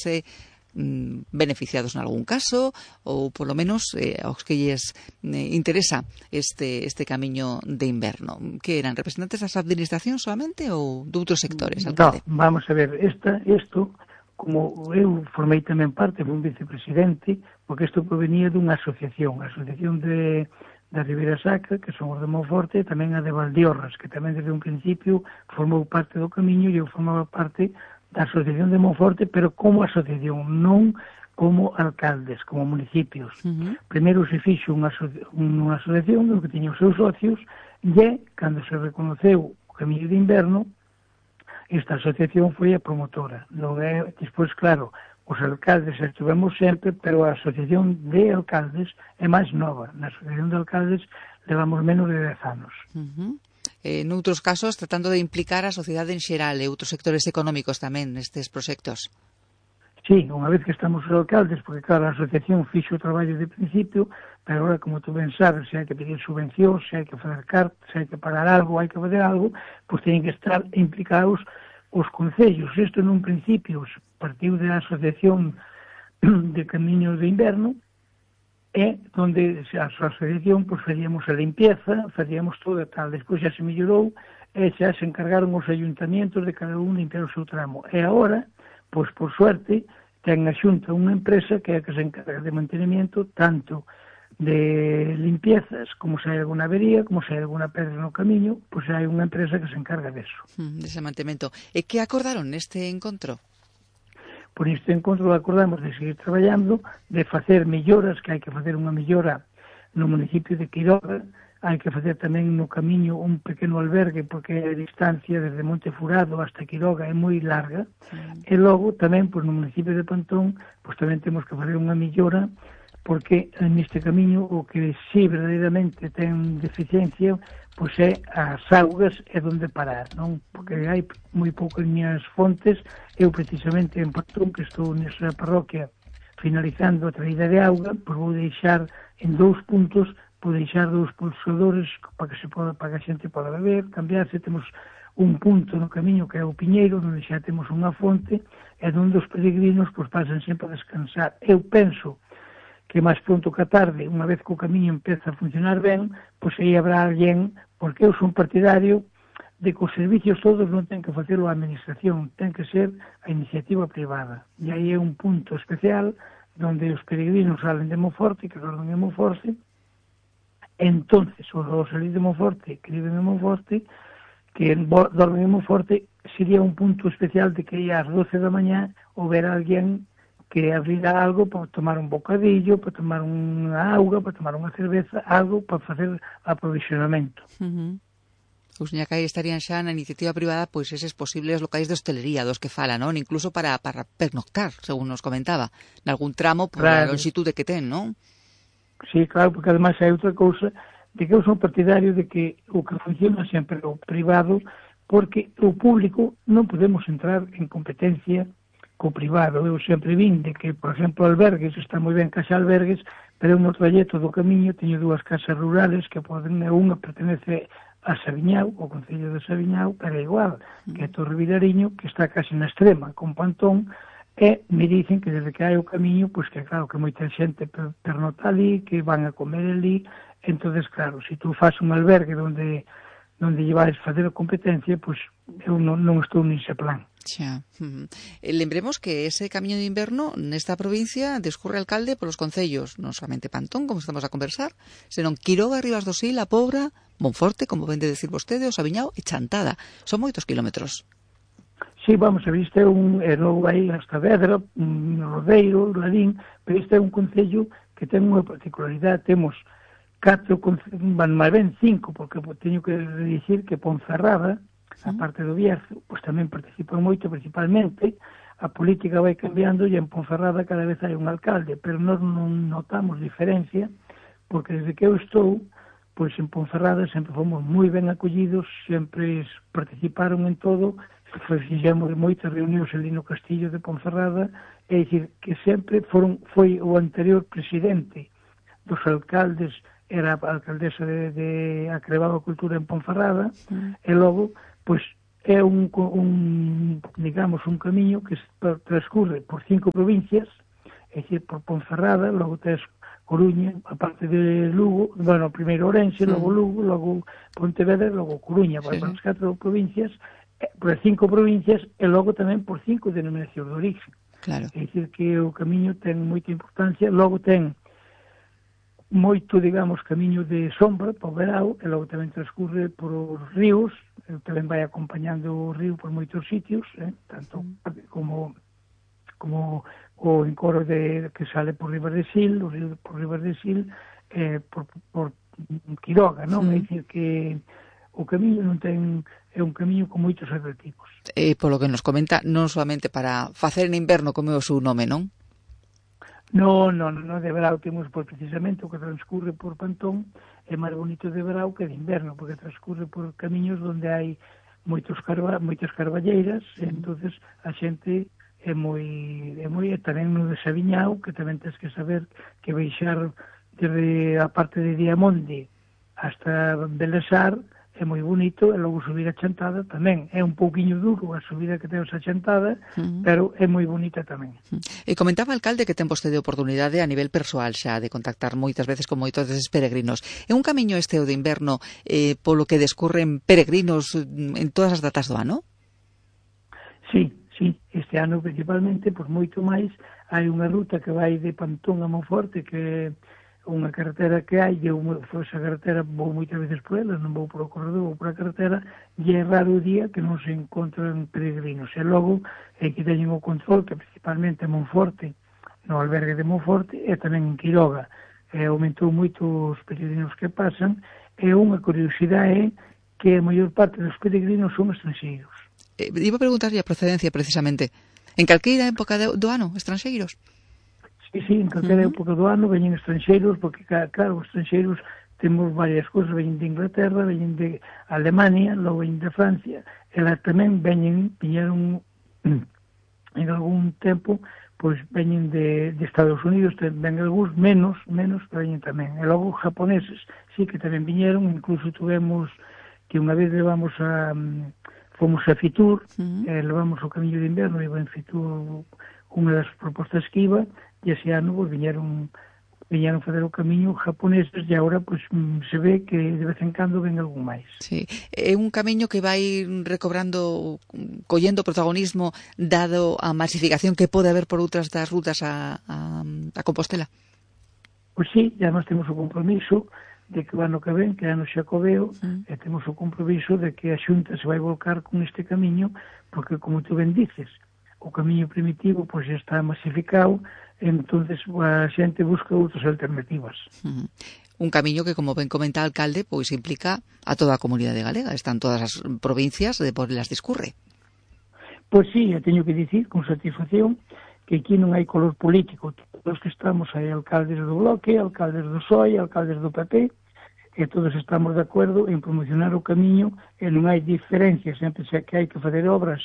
sentirse beneficiados en algún caso, ou polo menos aos que lles interesa este camiño de inverno. Que eran representantes das administracións solamente ou de outros sectores, alcalde? No, vamos a ver, isto, como eu formei tamén parte, fui un vicepresidente, porque isto provenía dunha asociación, a Asociación da Ribeira Sacra, que son os de Monforte, e tamén a de Valdeorras, que tamén desde un principio formou parte do camiño, e eu formaba parte da Asociación de Monforte, pero como asociación, non como alcaldes, como municipios. Primeiro se fixo unha asociación que tiña os seus socios, e cando se reconoceu o camiño de inverno, esta asociación foi a promotora. Despois, claro, os alcaldes estivemos sempre, pero a asociación de alcaldes é máis nova. Na asociación de alcaldes levamos menos de 10 anos. Noutros casos, tratando de implicar a sociedade en xeral e outros sectores económicos tamén nestes proxectos. Sí, unha vez que estamos os alcaldes, porque claro, a asociación fixo o traballo de principio, pero agora, como tú ben sabes, se hai que pedir subvencións, se hai que fazer cartas, se hai que pagar algo, hai que fazer algo, pois teñen que estar implicados os concellos. Isto nun principio partiu da Asociación de Camiños de Inverno, e onde a asociación pois facíamos a limpieza, facíamos todo e tal. Despois xa se mellorou e xa se encargaron os ayuntamientos de cada un limpiar o seu tramo. E agora, pois por suerte, ten a Xunta unha empresa que é a que se encarga de mantenimiento tanto de limpiezas, como se hai alguna avería, como se hai alguna pedra no camiño, pois hai unha empresa que se encarga deso. Dese mantemento. E que acordaron neste encontro? Por este encontro acordamos de seguir traballando, de facer melloras, que hai que facer unha mellora no municipio de Quiroga, hai que facer tamén no camiño un pequeno albergue, porque a distancia desde Monte Furado hasta Quiroga é moi larga, e logo tamén no municipio de Pantón, pois tamén temos que facer unha mellora, porque neste camiño o que si verdadeiramente ten deficiencia pois é as augas e onde parar, non? Porque hai moi poucas minhas fontes. Eu precisamente en Pantón, que estou nesa parroquia finalizando a traída de auga, pois vou deixar en 2 puntos, vou deixar 2 pulsadores para que a xente poda beber, cambiarse. Temos un punto no camiño que é o Piñeiro, onde xa temos unha fonte, e onde os peregrinos pois pasan sempre a descansar. Eu penso que máis pronto que a tarde, unha vez que o camiño empeza a funcionar ben, pois aí habrá alguén, porque eu son partidario de que os servicios todos non ten que facelo a administración, ten que ser a iniciativa privada. E aí é un punto especial onde os peregrinos salen de Monforte, que dormen en Monforte, entonces, os salir de Monforte, que viven en Monforte, que dormen en Monforte, sería un punto especial de que ás 12 da mañá houber alguén que abrirá algo para tomar un bocadillo, para tomar unha auga, para tomar unha cerveza, algo para facer aprovisionamento. Os ñacai estarían xa na iniciativa privada pois eses posibles locais de hostelería dos que fala, non? Incluso para pernoctar, según nos comentaba, nalgún tramo por a longitude que ten, non? Sí, claro, porque ademais hai outra cousa, de que eu son partidario de que o que funciona sempre o privado, porque o público non podemos entrar en competencia co privado. Eu sempre vin de que, por exemplo, albergues, está moi ben casa albergues, pero no trayecto do camiño teño 2 casas rurales que poden, unha pertenece a Sabiñao, o concello de Sabiñao, pero é igual, que é Torre Vilariño, que está casi na extrema, con Pantón, e me dicen que desde que hai o camiño, pois que claro, que moita xente pernota ali, que van a comer ali, entonces claro, se tú faz un albergue onde llevades facer a competencia, pois eu non estou nese plan. Xa. Lembremos que ese camiño de inverno nesta provincia discurre, alcalde, polos concellos, non solamente Pantón, como estamos a conversar, senón Quiroga, Ribas do Sil, A Pobra, Monforte, como ven de decir vostede, o Sabiñao e Chantada. Son moitos kilómetros. Sí, vamos a ver, isto é logo aí hasta Vedra, Rodeiro, Ladín, pero isto é un concello que ten unha particularidade. Temos 4, máis ben 5, porque teño que dicir que Ponferrada, a parte do Bierzo, pois tamén participan moito, principalmente. A política vai cambiando e en Ponferrada cada vez hai un alcalde, pero nós non notamos diferencia, porque desde que eu estou, pois en Ponferrada sempre fomos moi ben acollidos, sempre participaron en todo, fixemos moitas reunións ali no Castillo de Ponferrada, é dicir, que sempre foi o anterior presidente dos alcaldes, era a alcaldesa de Acrebado a Cultura en Ponferrada, e logo, pois, é digamos, un camiño que transcurre por 5 provincias, é dicir, por Ponferrada, logo tes Coruña, a parte de Lugo, bueno, primeiro Ourense, logo Lugo, logo Pontevedra, logo Coruña, por as 4 provincias, por as 5 provincias, e logo tamén por 5 denominacións de origen. Claro. É dicir, que o camiño ten moita importancia, logo ten moito, digamos, camiño de sombra para o verao, e logo tamén transcurre por os ríos, tamén vai acompañando o río por moitos sitios, tanto como o encoro que sale por Ribas de Sil, o río por Ribas de Sil, por Quiroga, non? É dicir, que o camiño non ten, é un camiño con moitos atractivos. Polo que nos comenta, non solamente para facer en inverno, como é o seu nome, non? Non, de verao temos, pois, precisamente o que transcurre por Pantón é máis bonito de verao que de inverno, porque transcurre por camiños onde hai moitas carballeiras, entonces a xente é moi tamén no de Sabiñao, que tamén tens que saber que baixar desde a parte de Diamonde hasta Belesar é moi bonito, e logo subir a Chantada tamén é un pouquiño duro a subida que temos a Chantada, pero é moi bonita tamén. E comentaba, alcalde, que ten vostede oportunidade a nivel persoal xa de contactar moitas veces con moitos deses peregrinos. É un camiño este o de inverno polo que descurren peregrinos en todas as datas do ano? Sí, este ano principalmente, por moito máis, hai unha ruta que vai de Pantón a Monforte, que é unha carretera que hai, e esa carretera vou moitas veces por ela, non vou por o corredor, vou por a carretera, e é raro o día que non se encontran peregrinos. E logo, que teñen o control, que principalmente en Monforte, no albergue de Monforte, e tamén en Quiroga. Aumentou moito os peregrinos que pasan, e unha curiosidade é que a maior parte dos peregrinos son estranxeiros. Iba a preguntarlle a procedencia, precisamente. En calqueira época do ano, estranxeiros? Sí, en calquera época do ano veñen estranxeiros, porque, claro, os estranxeiros temos varias cousas, veñen de Inglaterra, veñen de Alemania, logo veñen de Francia, e lá tamén viñeron en algún tempo, pois veñen de Estados Unidos, ven algúns menos, pero veñen tamén. E logo japoneses, sí, que tamén viñeron, incluso tuvemos que unha vez fomos a Fitur, levamos o camiño de inverno, e en Fitur unha das propostas que iba, e ese ano viñeron fazer o camiño japoneses, e agora pues, se ve que de vez en cando ven algún máis. Sí, é un camiño que vai recobrando, collendo protagonismo dado a masificación que pode haber por outras das rutas a Compostela. Pois sí, ya nós temos o compromiso de que o ano que ven, que é ano xacobeo, e temos o compromiso de que a Xunta se vai volcar con este camiño, porque, como tú ben dices, o camiño primitivo pois está masificado, entonces a xente busca outras alternativas. Un camiño que, como ben comenta o alcalde, pois implica a toda a comunidade galega, están todas as provincias de por las discurre. Pois sí, eu teño que dicir con satisfacción que aquí non hai color político, todos que estamos hai alcaldes do Bloque, alcaldes do PSOE, alcaldes do PP, e todos estamos de acordo en promocionar o camiño, e non hai diferencias, sempre que hai que fazer obras,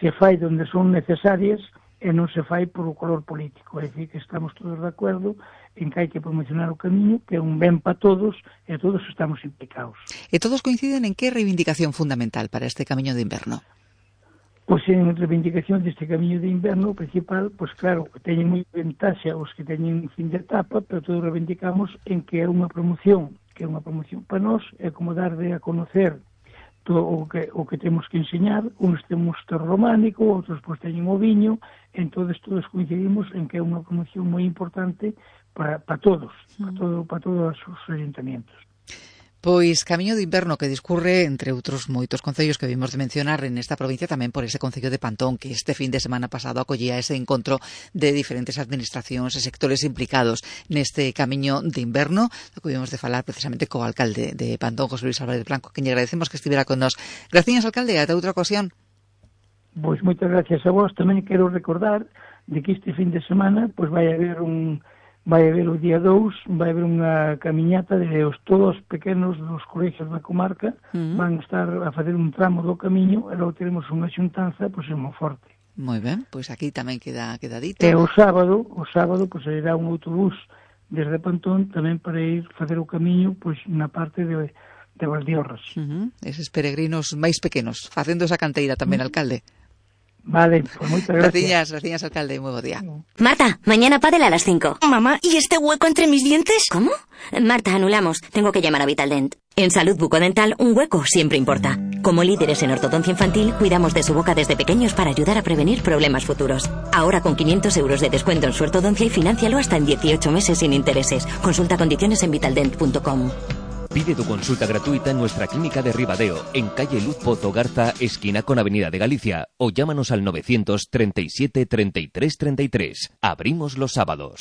se fai onde son necesarias, e non se fai por o color político. É dicir, que estamos todos de acordo en que hai que promocionar o camiño, que é un ben para todos, e todos estamos implicados. E todos coinciden en que reivindicación fundamental para este camiño de inverno? Pois en reivindicación deste camiño de inverno principal, pois claro, teñen moi ventaxa os que teñen fin de etapa, pero todos reivindicamos en que é unha promoción para nós, é como dar de a conocer todo o que temos que enseñar, uns temos terro románico, outros pois teñen o viño, entonces todos coincidimos en que é unha promoción moi importante para todos, para todos os ayuntamientos. Pois camiño de inverno que discurre entre outros moitos concellos que vimos de mencionar en esta provincia, tamén por ese concello de Pantón, que este fin de semana pasado acollía ese encontro de diferentes administracións e sectores implicados neste camiño de inverno, do que vimos de falar precisamente co alcalde de Pantón, José Luis Álvarez Blanco, que lle agradecemos que estivera con nós. Gracias, alcalde, ata outra ocasión. Pois moitas gracias a vos. Tamén quero recordar de que este fin de semana pois vai haber o día 2, vai haber unha camiñata de todos os pequenos dos colegios da comarca, van estar a fazer un tramo do camiño, e logo teremos unha xuntanza pois en Monforte. Moi ben, pois aquí tamén queda dito. E o sábado pois sairá un autobús desde Pantón tamén para ir facer o camiño pois na parte de de Valdiorras. Eses peregrinos máis pequenos, facendo esa canteira tamén, alcalde. Vale, pues moitas gracias. Gracias, alcalde, muy buen día. Marta, mañana pádel a las 5. Mamá, ¿y este hueco entre mis dientes? ¿Cómo? Marta, anulamos. Tengo que llamar a Vitaldent. En Salud Bucodental, un hueco siempre importa. Como líderes en ortodoncia infantil, cuidamos de su boca desde pequeños para ayudar a prevenir problemas futuros. Ahora con 500 euros de descuento en su ortodoncia y financialo hasta en 18 meses sin intereses. Consulta condiciones en vitaldent.com. Pide tu consulta gratuita en nuestra clínica de Ribadeo, en calle Luz Pozo Garza, esquina con Avenida de Galicia, o llámanos al 937 33 33. Abrimos los sábados.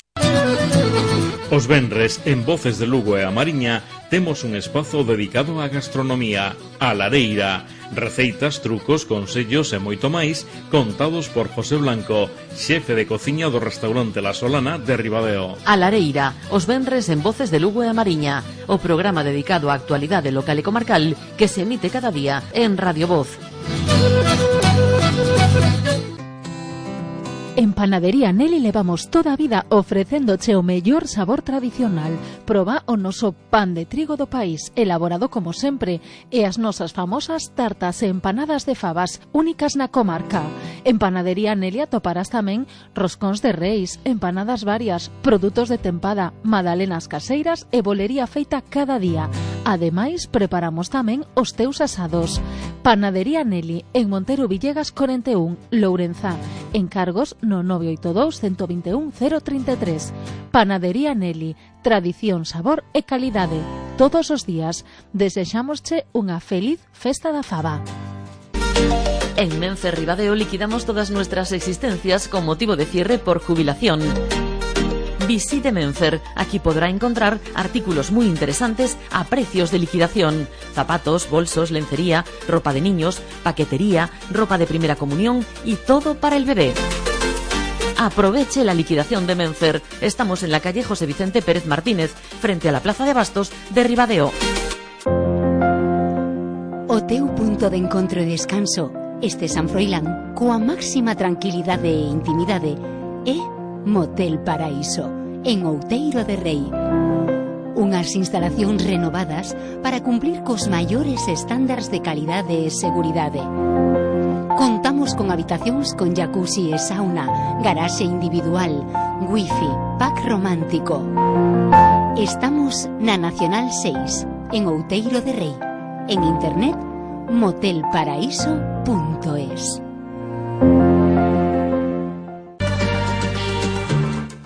Os venres, en Voces de Lugo e a Mariña, temos un espazo dedicado á gastronomía, a lareira. Receitas, trucos, consellos e moito máis contados por José Blanco, xefe de cociña do restaurante La Solana de Ribadeo. A lareira, os venres en Voces de Lugo e a Mariña, o programa dedicado á actualidade local e comarcal que se emite cada día en Radio Voz. En Panadería Nelly levamos toda a vida ofrecéndoche o mellor sabor tradicional. Proba o noso pan de trigo do país, elaborado como sempre, e as nosas famosas tartas e empanadas de fabas, únicas na comarca. En Panadería Nelly atoparás tamén roscóns de reis, empanadas varias, produtos de tempada, magdalenas caseiras e bolería feita cada día. Ademais, preparamos tamén os teus asados. Panadería Nelly, en Montero Villegas 41, Lourenzá. Encargos no 982 121 033. Panadería Nelly, tradición, sabor e calidade. Todos os días desexámosche unha feliz festa da faba. En Menfer Ribadeo liquidamos todas nuestras existencias con motivo de cierre por jubilación. Visite Menfer, aquí podrá encontrar artículos muy interesantes a precios de liquidación. Zapatos, bolsos, lencería, ropa de niños, paquetería, ropa de primera comunión y todo para el bebé. Aproveche la liquidación de Menfer. Estamos en la calle José Vicente Pérez Martínez, frente a la Plaza de Bastos de Ribadeo. O teu punto de encontro e descanso, este San Froilán, coa máxima tranquilidade e intimidade, é Motel Paraíso, en Outeiro de Rei. Unhas instalacións renovadas para cumplir cos maiores estándares de calidade e seguridade. Contamos con habitacións con jacuzzi e sauna, garaxe individual, wifi, pack romántico. Estamos na Nacional 6, en Outeiro de Rei. En internet, motelparaíso.es.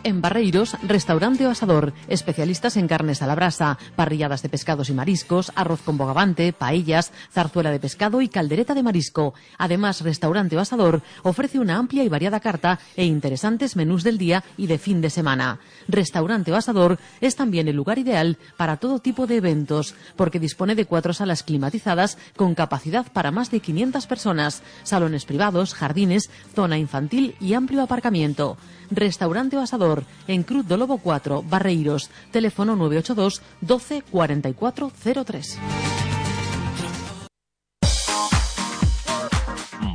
En Barreiros, Restaurante O Asador, especialistas en carnes a la brasa, parrilladas de pescados y mariscos, arroz con bogavante, paellas, zarzuela de pescado y caldereta de marisco. Además, Restaurante O Asador ofrece una amplia y variada carta e interesantes menús del día y de fin de semana. Restaurante O Asador es también el lugar ideal para todo tipo de eventos, porque dispone de 4 salas climatizadas con capacidad para más de 500 personas, salones privados, jardines, zona infantil y amplio aparcamiento. Restaurante O Asador, en Cruz do Lobo 4, Barreiros, teléfono 982 12 44 03.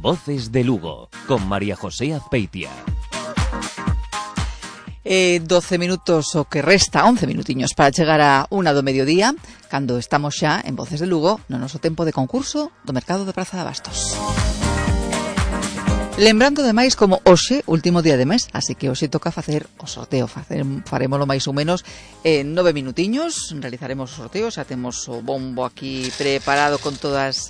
Voces de Lugo, con María José Azpeitia. 12 minutos o que resta, 11 minutiños para chegar a 1 do mediodía, cando estamos xa en Voces de Lugo no noso tempo de concurso do mercado de Praza de Bastos. Lembrando demais como hoxe, último día de mes, así que hoxe toca facer o sorteo, farémolo máis ou menos en 9 minutiños, realizaremos o sorteo, xa temos o bombo aquí preparado con todas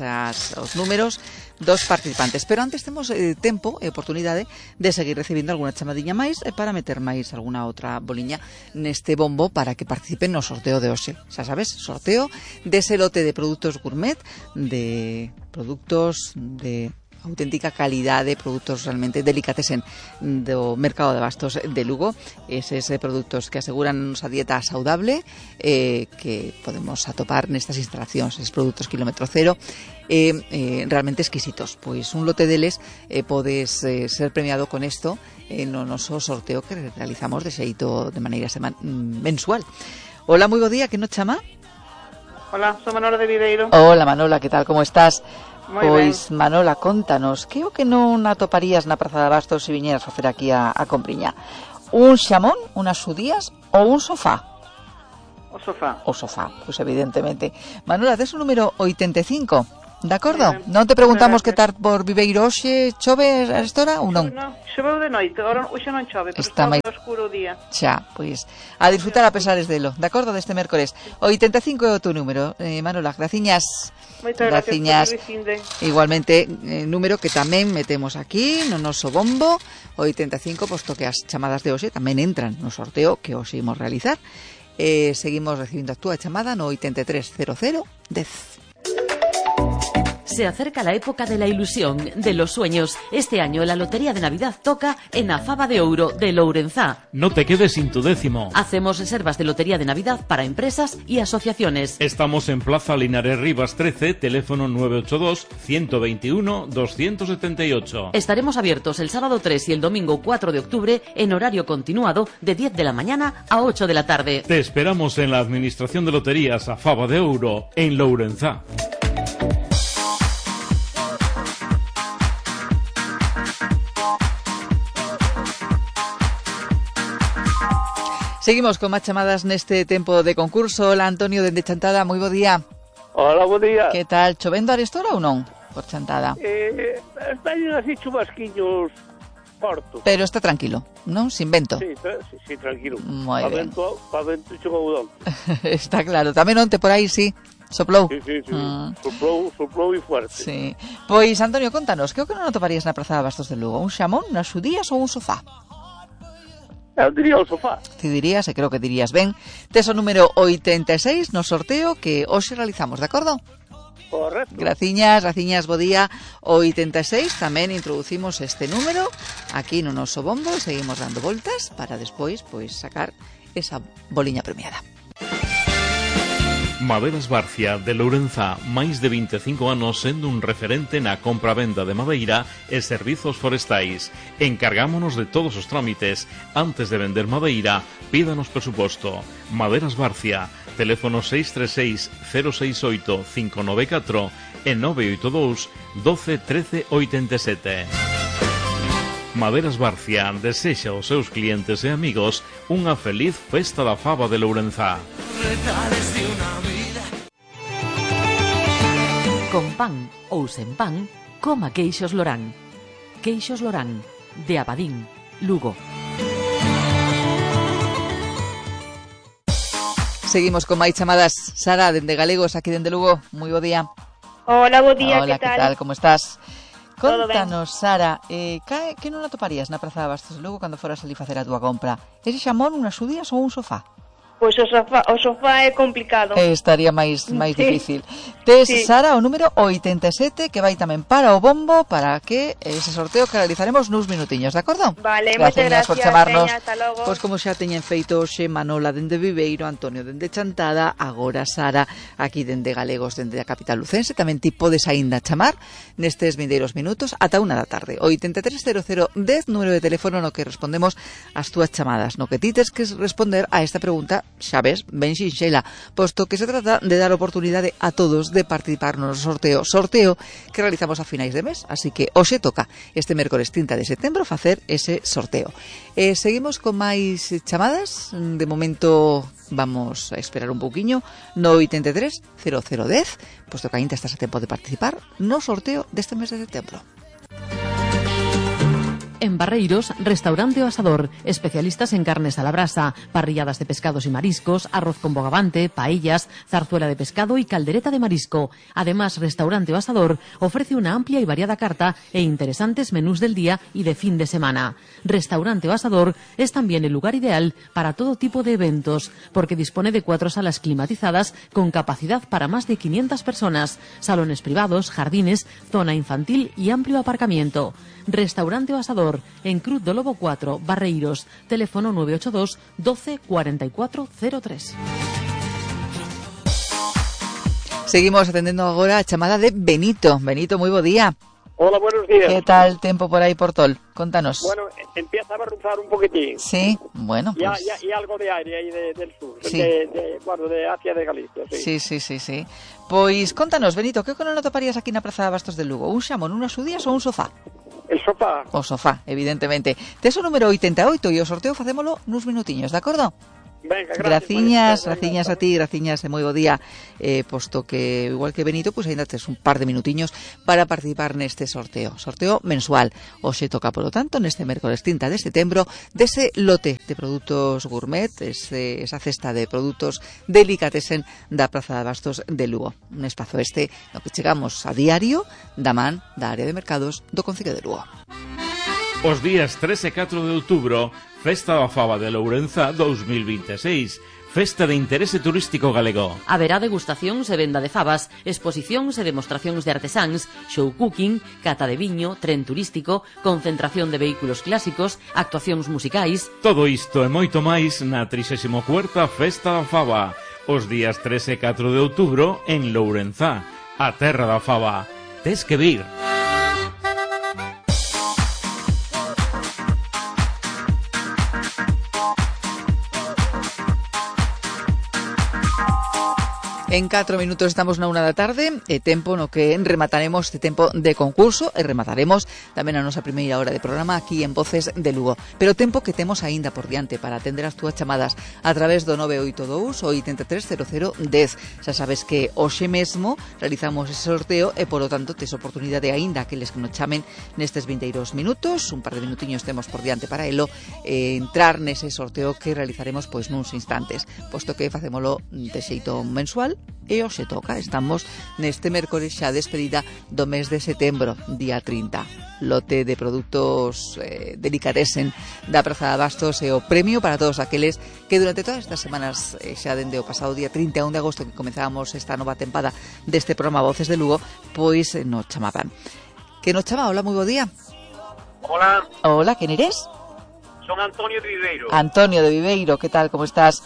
os números dos participantes, pero antes temos tempo e oportunidade de seguir recibindo alguna chamadiña máis para meter máis alguna outra boliña neste bombo para que participen no sorteo de hoxe. Xa sabes, sorteo dese lote de produtos gourmet, de produtos de auténtica calidade, produtos realmente delicatessen do mercado de Bastos de Lugo, eses produtos que aseguran a dieta saudable que podemos atopar nestas instalacións, eses produtos kilómetro cero realmente exquisitos. Pois un lote deles podes ser premiado con isto no noso sorteo que realizamos de xeito de maneira mensual. Hola, moi bo día, que nos chama? Hola, sou Manola de Videiro. Hola Manola, que tal, como estás? Moi pois, ben. Manola, contanos, que o que non atoparías na Praza de Bastos se viñeras facer aquí a Compriña? Un xamón, unas xudías ou un sofá? O O sofá, pois evidentemente. Manuela, tes o número 85, de acordo? Non te preguntamos que tal por Viveiro hoxe, chove a esta hora ou non? Non, choveu de noite, hoxe non chove, pero está moi oscuro o día. Xa, pois, a disfrutar a pesares delo, de acordo, deste mércores. 85 é o teu número, Manuela, graciñas. Moitas gracias. Igualmente, número que tamén metemos aquí no noso bombo, 85, posto que as chamadas de hoxe tamén entran no sorteo que hoxe imos realizar. Seguimos recibindo a túa chamada no 830010. Se acerca la época de la ilusión, de los sueños. Este año la Lotería de Navidad toca en a Faba de Ouro de Lourenzá. No te quedes sin tu décimo. Hacemos reservas de Lotería de Navidad para empresas y asociaciones. Estamos en Plaza Linares Rivas 13, teléfono 982-121-278. Estaremos abiertos el sábado 3 y el domingo 4 de octubre en horario continuado de 10 de la mañana a 8 de la tarde. Te esperamos en la Administración de Loterías a Faba de Ouro, en Lourenzá. Seguimos con máis chamadas neste tempo de concurso. Hola, Antonio, dende Chantada, moi bo día. Hola, bo día. Que tal, chovendo arestora ou non, por Chantada? Están así chubasquiños cortos. Pero está tranquilo, non? Sin vento. Sí, tranquilo. Moi ben. Pa vento chocoudón. Está claro, tamén onte por aí, sí, soplou. Sí. Soplou e fuerte. Sí. Pois, Antonio, contanos, que o que non atoparías na Praza de Bastos de Lugo? Un xamón, unas xudías ou un sofá? Eu diría o sofá. Ti dirías, e creo que dirías ben. Tes o número 86 no sorteo que hoxe realizamos, de acordo? Correcto. Graciñas, bo día. 86 tamén introducimos este número aquí no noso bombo e seguimos dando voltas para despois pois sacar esa boliña premiada. Maderas Barcia de Lourenzá, máis de 25 anos sendo un referente na compra-venda de madeira e servizos forestais. Encargámonos de todos os trámites. Antes de vender madeira, pídanos presuposto. Maderas Barcia, teléfono 636 068 594 e 982 12 13 87. Maderas Barcia desexa aos seus clientes e amigos unha feliz festa da Faba de Lourenzá. Con pan ou sen pan, coma queixos Lorán. Queixos Lorán, de Abadín, Lugo. Seguimos con máis chamadas. Sara, dende Galegos, aquí dende Lugo. Moi bo día. Hola, bo día, hola, que tal? Como estás? Contanos, ben. Sara, que non atoparías na Praza de Bastos de Lugo cando foras ali facer a túa compra? Ese xamón, unhas xudías ou un sofá? Pois o sofá é complicado. Estaría máis difícil. Tes, sí. Sara, o número 87, que vai tamén para o bombo, para que ese sorteo que realizaremos nuns minutiños, de acordo? Vale, moitas gracias por chamarnos. Peña, hasta logo. Pois como xa teñen feito hoxe Manola dende Viveiro, Antonio dende Chantada, agora Sara aquí dende Galegos, dende a capital lucense, tamén ti podes aínda chamar nestes vindeiros minutos ata 1 da tarde. 830010, número de teléfono no que respondemos as túas chamadas, no que ti tes que responder a esta pregunta, xa ves, ben xinxela, posto que se trata de dar oportunidade a todos de participar no sorteo que realizamos a finais de mes, así que hoxe toca este mércores 30 de setembro facer ese sorteo. Seguimos con máis chamadas, de momento vamos a esperar un pouquiño no 830010, posto que ainda estás a tempo de participar no sorteo deste mes de setembro. En Barreiros, Restaurante O Asador, especialistas en carnes a la brasa, parrilladas de pescados y mariscos, arroz con bogavante, paellas, zarzuela de pescado y caldereta de marisco. Además, Restaurante O Asador ofrece una amplia y variada carta e interesantes menús del día y de fin de semana. Restaurante O Asador es también el lugar ideal para todo tipo de eventos, porque dispone de 4 salas climatizadas con capacidad para más de 500 personas, salones privados, jardines, zona infantil y amplio aparcamiento. Restaurante O Asador, en Cruz do Lobo 4, Barreiros, teléfono 982 12 44 03. Seguimos atendendo agora a chamada de Benito. Benito, moi bo día. Hola, buenos días. Que tal tempo por aí por Tol? Contanos. Bueno, empieza a barruzar un poquitín. Sí, bueno, pues... Y algo de aire aí del sur, sí. de hacia de Galicia, sí. Sí. Pois contanos, Benito, que non atoparías aquí na Praza de Bastos de Lugo? Un xamón, unhas xudías ou un sofá? El sofá. O sofá, evidentemente. Tes o número 88 e o sorteo facémolo nuns minutiños, de acordo? Venga, graciñas a ti, graciñas e moi bo día, posto que igual que Benito, pois ainda tes un par de minutiños para participar neste sorteo mensual. Hoxe toca, polo tanto, neste mércoles 30 de setembro, dese lote de produtos gourmet, esa cesta de produtos delicatessen da Praza de Abastos de Lugo. Un espazo no que chegamos a diario da man da área de mercados do Concello de Lugo. Os días 3 e 4 de outubro, Festa da Faba de Lourenza 2026, Festa de Interese Turístico Galego. Haberá degustacións e venda de fabas, exposicións e demostracións de artesáns, show cooking, cata de viño, tren turístico, concentración de vehículos clásicos, actuacións musicais. Todo isto e moito máis na 34ª Festa da Faba, os días 3 e 4 de outubro en Lourenza, a terra da faba. Tes que vir. En 4 minutos estamos na 1 da tarde, tempo no que remataremos este tempo de concurso e remataremos tamén a nosa primeira hora de programa aquí en Voces de Lugo. Pero tempo que temos aínda por diante para atender as túas chamadas a través do 982 o 830010. Xa sabes que hoxe mesmo realizamos ese sorteo e, polo tanto, tes oportunidade aínda que les que nos chamen nestes 22 minutos, un par de minutiños temos por diante para elo, entrar nese sorteo que realizaremos pois nuns instantes, posto que facémolo de xeito mensual. E hoxe toca, estamos neste mércoles xa despedida do mes de setembro, día 30. Lote de produtos delicatessen da Praza de Abastos e o premio para todos aqueles que durante todas estas semanas, xa dende o pasado día 31 de agosto que comenzábamos esta nova tempada deste programa Voces de Lugo, pois nos chamaban. Que nos chama? Hola, moi bo día. Hola. Hola, quen eres? Son Antonio de Viveiro. Antonio de Viveiro, que tal, como estás?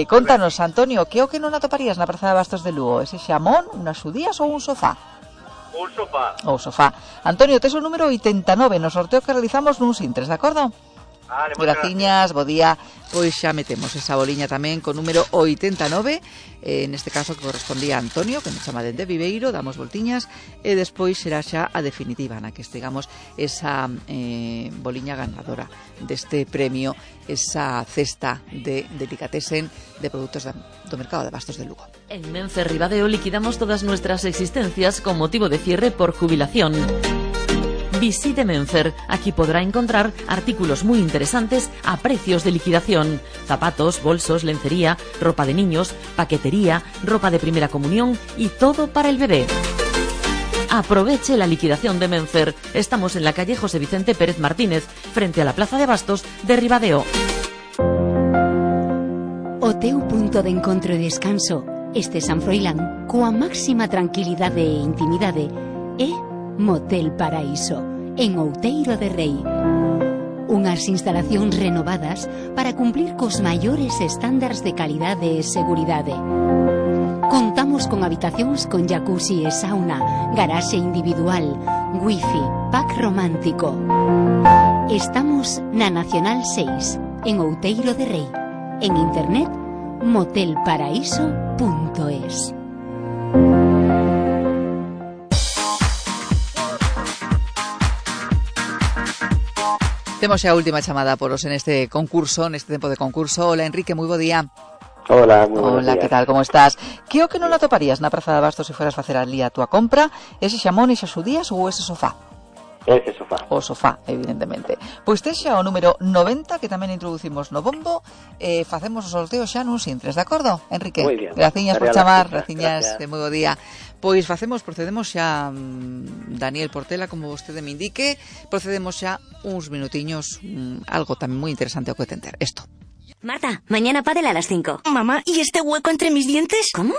Contanos, Antonio, que o que non atoparías na Praza de Abastos de Lugo? Ese xamón, unhas xudías ou un sofá? Un sofá. O sofá. Antonio, tes o número 89 no sorteo que realizamos nuns intres, de acordo? Vale, graciñas, bo día. Pois xa metemos esa boliña tamén con número 89, neste caso que correspondía a Antonio, que nos chama dende Viveiro, damos voltiñas e despois será xa a definitiva na que estegamos esa boliña ganadora deste premio, esa cesta de delicatessen de produtos do mercado de Abastos de Lugo. En Menfer Ribadeo liquidamos todas nuestras existencias con motivo de cierre por jubilación. Visite Menfer, aquí podrá encontrar artículos muy interesantes a precios de liquidación. Zapatos, bolsos, lencería, ropa de niños, paquetería, ropa de primera comunión y todo para el bebé. Aproveche la liquidación de Menfer. Estamos en la calle José Vicente Pérez Martínez, frente a la Plaza de Abastos de Ribadeo. O teu punto de encontro e descanso, este San Froilán, coa máxima tranquilidade e intimidade, é Motel Paraíso, en Outeiro de Rei. Unhas instalacións renovadas para cumplir cos maiores estándares de calidade e seguridade. Contamos con habitacións con jacuzzi e sauna, garaxe individual, wifi, pack romántico. Estamos na Nacional 6, en Outeiro de Rei. En internet, motelparaíso.es. Temos xa a última chamada por os en este concurso, neste tempo de concurso. Hola, Enrique, moi bo día. Hola, moi bo día. Hola, que tal, como estás? Que o que non atoparías na Praza de Abastos se fueras facer ali a túa compra? Ese xamón, esas xudías ou ese sofá? Ese sofá. O sofá, evidentemente. Pois tes xa o número 90, que tamén introducimos no bombo, facemos o sorteo xa nuns intres, de acordo, Enrique? Moi bien. Graciñas por chamar, graciñas, de moi bo día. Pois procedemos xa, Daniel Portela, como vostede me indique, procedemos xa uns minutiños, algo tamén moi interesante ao que atender. Esto. Marta, mañana pádel a las 5. Mamá, ¿y este hueco entre mis dientes? ¿Cómo?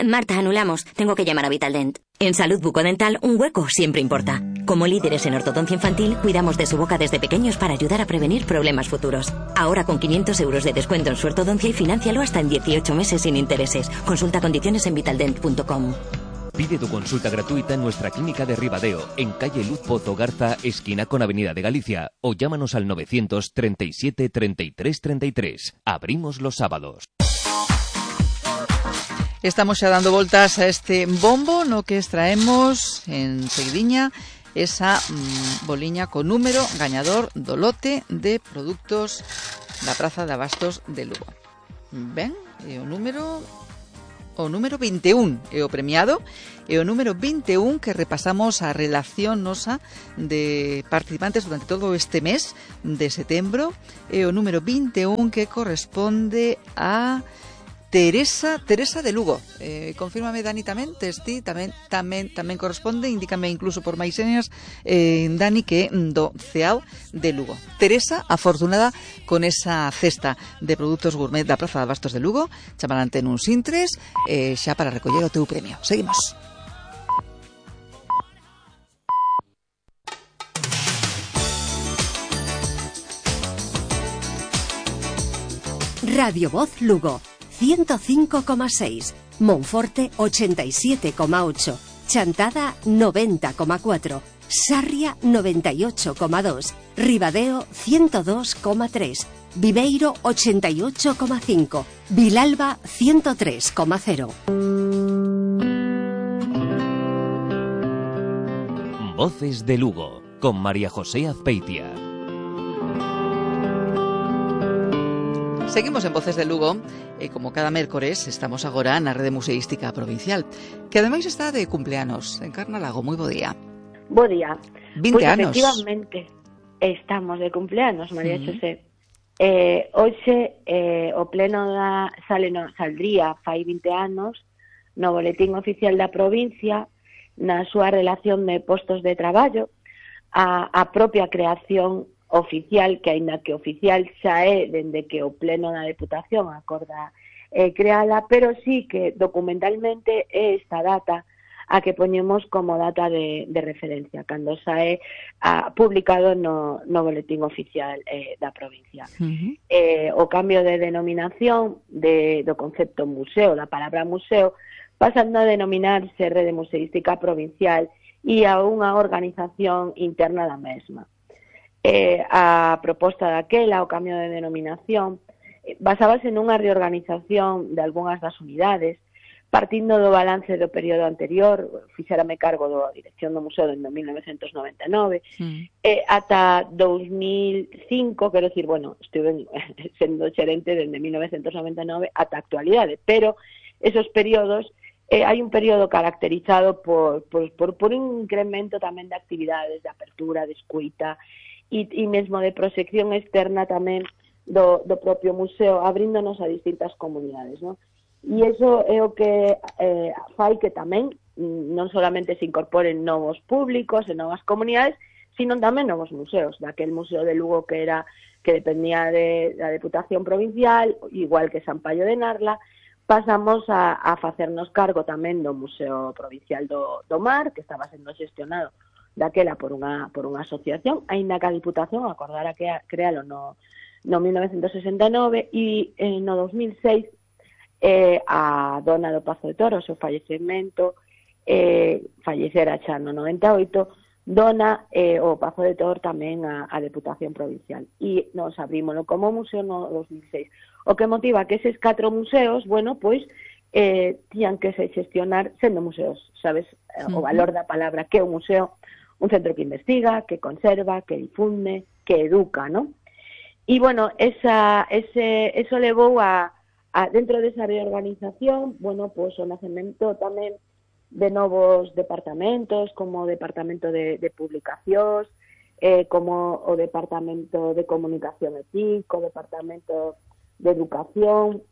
Marta, anulamos. Tengo que llamar a Vitaldent. En salud bucodental, un hueco siempre importa. Como líderes en ortodoncia infantil, cuidamos de su boca desde pequeños para ayudar a prevenir problemas futuros. Ahora con 500 euros de descuento en su ortodoncia y financialo hasta en 18 meses sin intereses. Consulta condiciones en vitaldent.com. Pide tu consulta gratuita en nuestra clínica de Ribadeo, en calle Luz Pozo Garza, esquina con Avenida de Galicia, o llámanos al 937 33 33. Abrimos los sábados. Estamos xa dando voltas a este bombo no que extraemos en seguidiña esa boliña con número gañador do lote de produtos da Praza de Abastos de Lugo. Ben, e o número 21 é o premiado, e o número 21 que repasamos a relación nosa de participantes durante todo este mes de setembro, e o número 21 que corresponde a Teresa de Lugo. Confírmame, Dani, tamén corresponde, indícame incluso por máis señas, Dani, que do CEAO de Lugo. Teresa, afortunada con esa cesta de produtos gourmet da Praza de Abastos de Lugo. Chamarante nuns intres xa para recoller o teu premio. Seguimos. Radio Voz Lugo 105,6, Monforte 87,8, Chantada 90,4, Sarria 98,2, Ribadeo 102,3, Viveiro 88,5, Vilalba 103,0. Voces de Lugo, con María José Azpeitia. Seguimos en Voces de Lugo, e como cada mércores estamos agora na Rede Museística Provincial, que ademais está de cumpleanos. Encarna Lago, moi bo día. Bo día. 20 pues anos. Efectivamente, estamos de cumpleanos, María José. Hoxe o pleno saldría fai 20 anos no Boletín Oficial da Provincia, na súa relación de postos de traballo, a propia creación oficial, que aínda que oficial xa é dende que o pleno da Deputación acorda creala, pero sí que documentalmente é esta data a que poñemos como data de referencia, cando sae publicado no Boletín Oficial da provincia. O cambio de denominación do concepto museo, da palabra museo, pasando a denominarse Rede Museística Provincial e a unha organización interna da mesma. A proposta daquela, o cambio de denominación, basábase nunha reorganización de algunhas das unidades, partindo do balance do período anterior, fixérame cargo da dirección do museo dende 1999, ata 2005, quero dicir, estuve sendo xerente dende 1999 ata a actualidade, pero esos períodos, hai un período caracterizado por un incremento tamén de actividades, de apertura, de escuita, e mesmo de proxección externa tamén do propio museo, abríndonos a distintas comunidades, non? E iso é o que fai que tamén non solamente se incorporen novos públicos e novas comunidades, sino tamén novos museos, daquel museo de Lugo que dependía da Deputación Provincial, igual que San Paio de Narla, pasamos a facernos cargo tamén do Museo Provincial do Mar, que estaba sendo xestionado daquela por unha asociación, aínda que a Diputación acordara crealo no 1969, e no 2006 a dona do Pazo de Toro, o seu fallecemento, fallecera xa no 98, dona o Pazo de Toro tamén a Deputación Provincial, e nos abrímoslo como museo no 2006. O que motiva que eses 4 museos, tiñan que se xestionar sendo museos, sabes, o valor da palabra, que é un museo, un centro que investiga, que conserva, que difunde, que educa, ¿no? E, eso levou a dentro desa reorganización, o nacemento tamén de novos departamentos, como o Departamento de Publicacións, como o Departamento de Comunicación e TIC, o Departamento de Educación.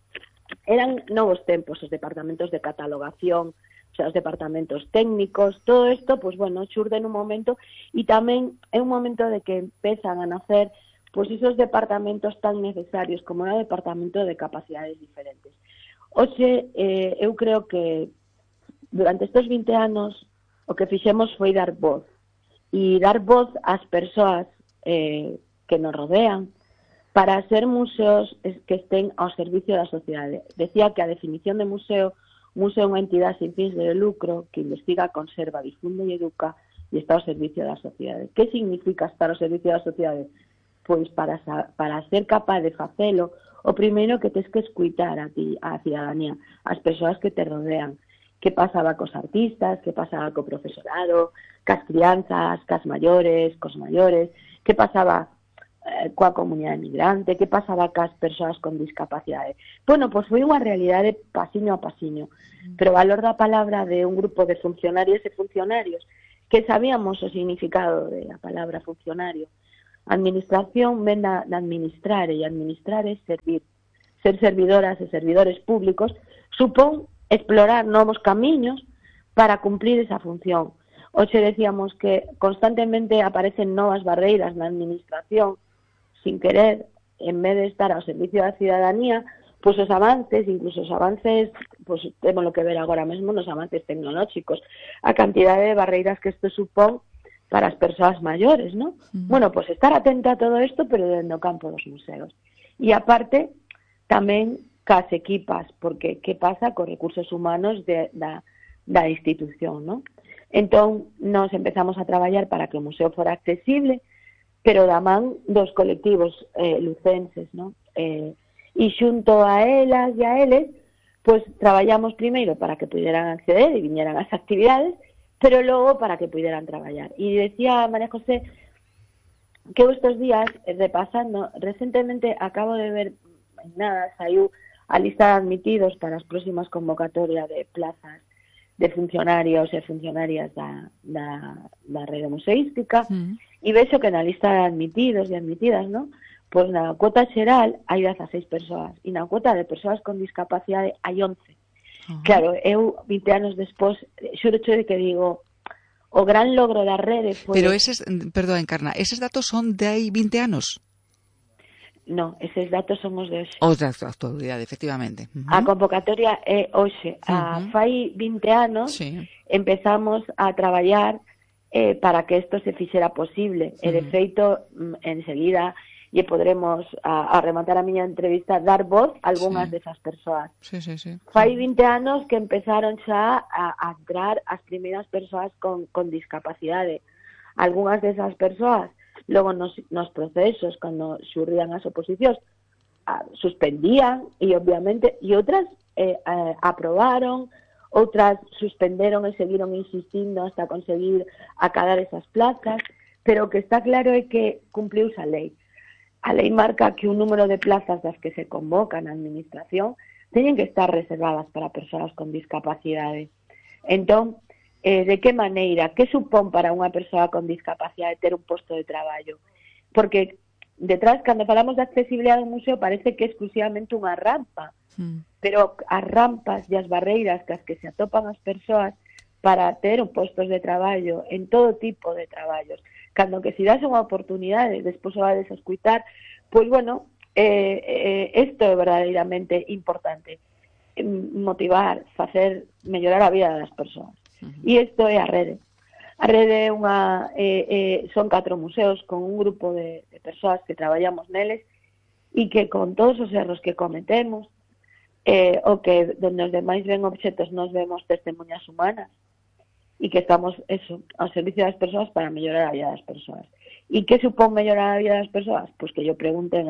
Eran novos tempos os departamentos de catalogación, os departamentos técnicos, todo isto, xurde nun momento, e tamén é un momento de que empezan a nacer esos departamentos tan necesarios como o departamento de capacidades diferentes. Hoxe, eu creo que durante estes 20 anos o que fixemos foi dar voz, e dar voz ás persoas que nos rodean, para ser museos que estén ao servicio da sociedade. Decía que a definición de museo é unha entidade sin fins de lucro que investiga, conserva, difunde e educa e está ao servicio da sociedade. Que significa estar ao servicio da sociedade? Pois para ser capaz de facelo, o primeiro que tens que escuitar a ti, a cidadanía, as persoas que te rodean. Que pasaba cos artistas, que pasaba co profesorado, cas crianzas, cas maiores, cos maiores, que pasaba coa comunidade migrante, que pasaba cas persoas con discapacidade. Bueno, pois foi unha realidade pasiño a pasiño, pero o valor da palabra de un grupo de funcionarios e funcionarios que sabíamos o significado da palabra funcionario. Administración ven de administrar, e administrar é servir. Ser servidoras e servidores públicos supón explorar novos camiños para cumplir esa función. Hoxe decíamos que constantemente aparecen novas barreiras na administración, sin querer, en vez de estar ao servicio da cidadanía, pois os avances, incluso os avances, pois temos lo que ver agora mesmo nos avances tecnolóxicos, a cantidade de barreiras que isto supón para as persoas maiores, ¿no? Bueno, pois estar atenta a todo isto, pero dentro do campo dos museos. E aparte, tamén cas equipas, porque que pasa cos recursos humanos da institución, ¿no? Entón, nos empezamos a traballar para que o museo fora accesible, pero da man dos colectivos lucenses, ¿no? E xunto a elas e a eles, pois traballamos primeiro para que puderan acceder e viñeran as actividades, pero logo para que puderan traballar. E decía María José que estes días, repasando, recentemente acabo de ver, nada, saiu a lista de admitidos para as próximas convocatorias de plazas de funcionarios e funcionarias da rede museística, e vexo que na lista de admitidos e admitidas, ¿no? Pois na cuota xeral hai 16 persoas, e na cuota de persoas con discapacidade hai 11. Claro, eu 20 anos despois, xuro de que digo, o gran logro da rede foi... Pero eses, perdón, Encarna, eses datos son de hai 20 anos? No, eses datos son os de hoxe. Os da actualidade, efectivamente. A convocatoria é hoxe. Fai 20 anos empezamos a traballar para que isto se fixera posible. E, de feito, enseguida, e podremos, a rematar a miña entrevista, dar voz a algunhas desas persoas. Fai 20 anos que empezaron xa a entrar as primeiras persoas con discapacidade. Algunhas desas persoas logo nos procesos, cando xurrían as oposicións, suspendían, e obviamente, e outras aprobaron, outras suspenderon e seguiron insistindo hasta conseguir acadar esas plazas, pero o que está claro é que cumpliuse a lei. A lei marca que un número de plazas das que se convocan na administración teñen que estar reservadas para persoas con discapacidade. Entón, de que maneira, que supón para unha persoa con discapacidade ter un posto de traballo? Porque detrás, cando falamos de accesibilidade do museo, parece que é exclusivamente unha rampa, pero as rampas e as barreiras que se atopan as persoas para ter un postos de traballo en todo tipo de traballos, cando que se dase unha oportunidade, despois o vades a escutar, pois bueno, isto é verdadeiramente importante, motivar, facer, mellorar a vida das persoas. E isto é a rede. A rede é son 4 museos con un grupo de persoas que traballamos neles e que con todos os erros que cometemos, o que donde os demais ven obxetos nos vemos testemunhas humanas e que estamos ao servicio das persoas para mellorar a vida das persoas. E que supón mellorar a vida das persoas? Pois que yo pregunten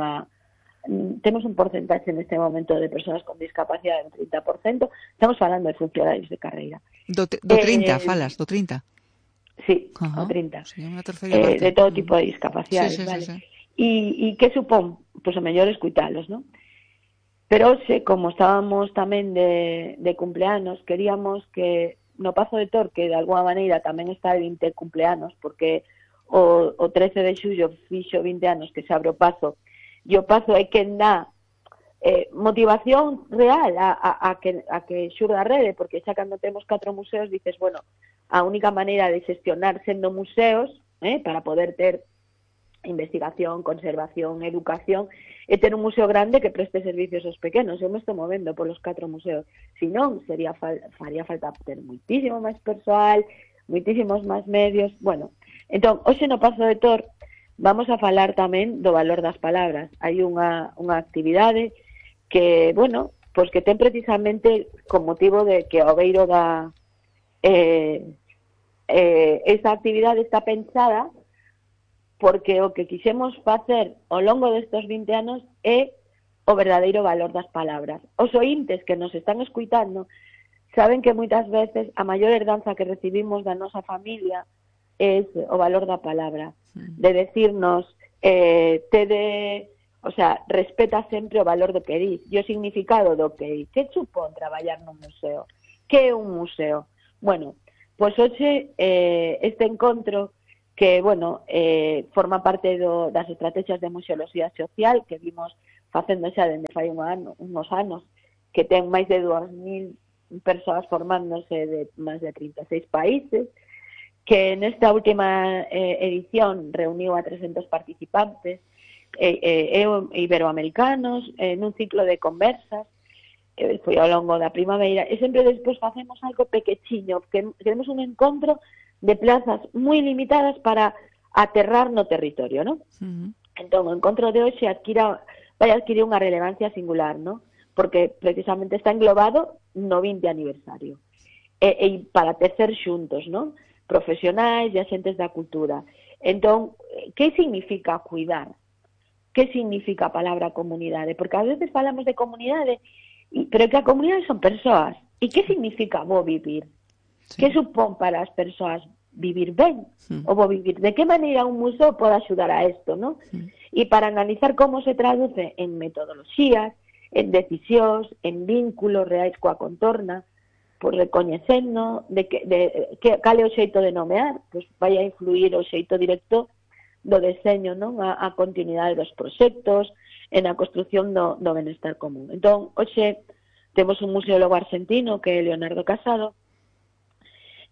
temos un porcentaxe neste momento de persoas con discapacidade del 30%, estamos falando de funcionarios de carreira. Do 30, falas, do 30? Sí, o 30. De todo tipo de discapacidades, vale. E que supón? Pois o mellor escuitalos, non? Pero hoxe, como estábamos tamén de cumpleanos, queríamos que no Pazo de Tor, que de alguna maneira tamén está de 20 cumpleanos, porque o 13 de xullo fixo 20 anos que se abre o Pazo, e o Pazo é quen dá motivación real a que xurda a rede, porque xa cando temos 4 museos dices, bueno, a única maneira de xestionar sendo museos, para poder ter investigación, conservación, educación, e ter un museo grande que preste servicios aos pequenos. Eu me estou movendo polos 4 museos. Si non, faría falta ter moitísimo máis persoal, moitísimos máis medios. Bueno, entón, hoxe no Pazo de Tor vamos a falar tamén do valor das palabras. Hai unha actividade que, bueno, pois que ten precisamente con motivo de que o beiro esta actividade está pensada porque o que quixemos facer ao longo destes 20 anos é o verdadeiro valor das palabras. Os ointes que nos están escuitando saben que moitas veces a maior herdanza que recibimos da nosa familia é o valor da palabra, de decirnos respeta sempre o valor do que dis e o significado do que dis. Que supón traballar nun museo? Que é un museo? Bueno, pois hoxe este encontro que, forma parte das estrategias de museoloxía social que vimos facendo xa dende fai uns anos, que ten máis de 2.000 persoas formándose de máis de 36 países, que nesta última edición reuniu a 300 participantes iberoamericanos nun ciclo de conversas, foi ao longo da primavera, e sempre despois facemos algo pequechiño, que queremos un encontro de plazas moi limitadas para aterrar no territorio, ¿no? Entón, o encontro de hoxe vai adquirir unha relevancia singular, ¿no? Porque precisamente está englobado no 20 aniversario. E para tecer xuntos, ¿no? Profesionais e axentes da cultura. Entón, que significa cuidar? Que significa a palabra comunidade? Porque a veces falamos de comunidade, pero que a comunidade son persoas. E que significa bo vivir? Sí. Que supón para as persoas vivir ben? O bo vivir? De que maneira un museo pode axudar a isto, non? E para analizar como se traduce en metodoloxías, en decisións, en vínculos reais coa contorna, pois recoñecendo cal é o xeito de nomear, pois vai a influir o xeito directo do deseño, non? A continuidade dos proxectos, en a construción do benestar común. Entón, hoxe temos un museólogo argentino que é Leonardo Casado,